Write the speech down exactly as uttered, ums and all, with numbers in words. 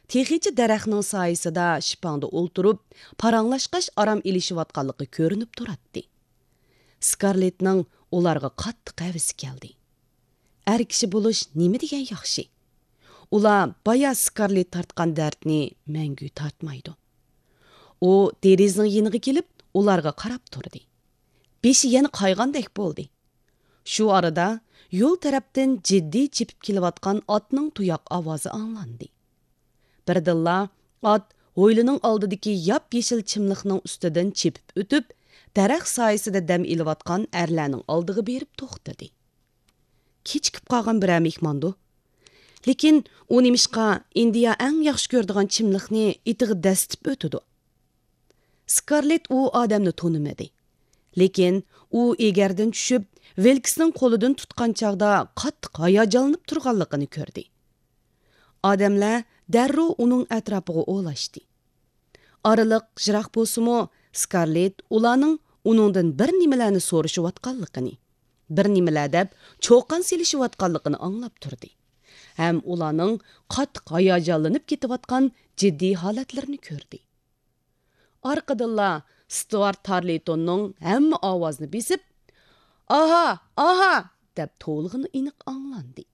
تېخىچە دەرەخنىڭ سايىسىدا شىپاڭدا ئولتۇرۇپ، پاراڭلاشقاچ ئارام ئېلىشىۋاتقانلىقى كۆرۈنۈپ تۇراتتى. سكارلېتنىڭ ئۇلارغا قاتتىق ھەۋىسى كەلدى. ئەر كىشى بولۇش نېمە دېگەن ياخشى! ئۇلار بايا سكارلېت تارتقان دەردنى مەڭگۈ تارتمايدۇ. ئۇ دېرىزىنىڭ يېنىغا كېلىپ، ئۇلارغا قاراپ تۇردى. بېشى يەنە قايغاندەك بولدى. شۇ ئارىدا يول تەرەپتىن جىددىي چېپىپ كېلىۋاتقان ئاتنىڭ تۇياق ئاۋازى ئاڭلاندى. بىردىنلا ئات ھويلىنىڭ ئالدىدىكى ياپيېشىل چىملىقنىڭ ئۈستىدىن چېپىپ ئۆتۈپ، دەرەخ سايىسىدا دەم ئېلىۋاتقان ئەرلەرنىڭ ئالدىغا بېرىپ توختىدى. كېچىكىپ قالغان بىرەر مېھماندۇ؟ لېكىن ئۇ نېمىشقا ئىندىيا ئەڭ ياخشى كۆرىدىغان چىملىقنى ئېتىغا دەسسىتىپ ئۆتىدۇ؟ سكارلېت ئۇ ئادەمنى تونۇمىدى. لېكىن ئۇ ئېگەردىن چۈشۈپ، ۋىلكسنىڭ قولىدىن تۇتقان چاغدا قاتتىق ھاياجانلىنىپ تۇرغانلىقىنى كۆردى. ئادەملەر دەررۇ ئۇنىڭ ئەتراپىغا ئولاشتى. ئارىلىق يىراق بولسىمۇ، سكارلېت ئۇلارنىڭ ئۇنىڭدىن بىر نېمىلەرنى سورىشىۋاتقانلىقىنى، بىر نېمىلەر دەپ چۇقان سېلىشىۋاتقانلىقىنى ئاڭلاپ تۇردى ھەم ئۇلارنىڭ قاتتىق ھاياجانلىنىپ كېتىۋاتقان جىددىي ھالەتلىرىنى كۆردى. ئارقىدىنلا ستۇئارت تارلىتوننىڭ ھەممە ئاۋازنى بېسىپ، «ئاھا! ئاھا!» دەپ توۋلىغىنى ئېنىق ئاڭلاندى.